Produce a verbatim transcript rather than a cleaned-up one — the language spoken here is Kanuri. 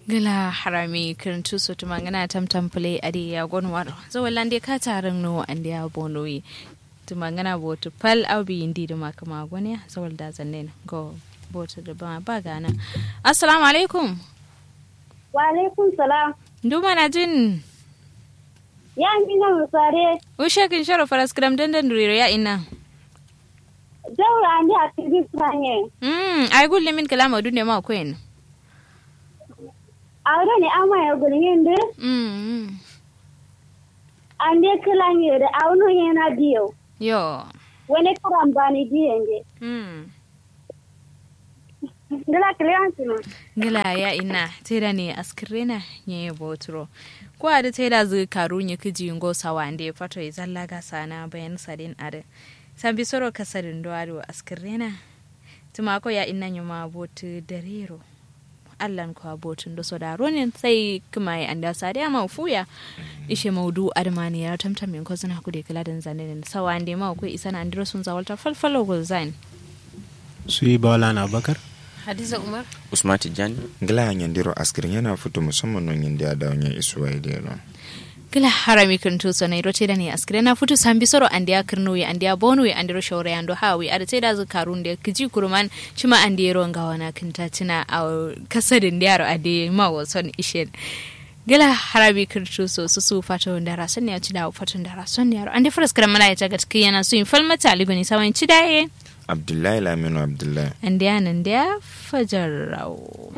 Ngla harami kǝrǝntu so tǝmangǝna tamtam pǝlai adǝ ye ya gonwaro zawallande kata rǝngno andeya bonoye. Tǝmangǝna botu fal au biyi ndi dǝma kǝma goneya zawalda zannen go. Botu dǝ bama ba gana. Assalamu alaikum. Wa alaikum salam. Ndu manajin? Ya mina musare. Ushe kǝnshero faraskǝram dǝndǝn duriro ya ina. Jauro ande a kǝrbi sanye. Mm ai gullumin kǝla maudu ne ma koyen. Awo done ama ye gulmin dǝ. Mm. Ande kǝla nyere awo no nyena diyo. Yo. Wone karambani diye nde. Mm. Ngla kǝlewan sino. Ngla ya ina. Taida ne askirrena nye boturo. Ko adǝ taida zǝ karu nye kǝji ngo sawande fato ye zalla ga sana bayan sadin adǝ. Sambi soro kasadin do adǝ askirrena. Tǝma ko ya ina nyuma botu darero. Allan kwa botun do soda ronin sai kǝma ye ande asade ama fuya. Ishe maudu adǝma ne ya tamtam yin kozuna kude kǝla dan zanen sawa ande ma ko isana andiro sun zawalta falfalo gulzain. Suyi bawala na bakar. Hadiza umar. Usman tijjani. Ngla nyandiro askirin yana futu musamman non yindi adawo nye isuwa idero. Kǝla harami kǝntu so nairo taida ne askirena futu sambi soro andeya kǝrnuwi andeya bonuwi andero shaurayando hawi adǝ taida zǝ karunde kǝji kuruman. Shima andero ngawana kǝnta cina awo kasadin diyaro ade ma wason ishen. Gila harabi kǝrtu so susu fato ndara son ya cida fato ndara son yaro ande faraskara mala ya tagat kiyana suyin falmata aligoni sawan cida ye. Abdullahi laminu abdullahi. Andiya nandiya fajar rawo.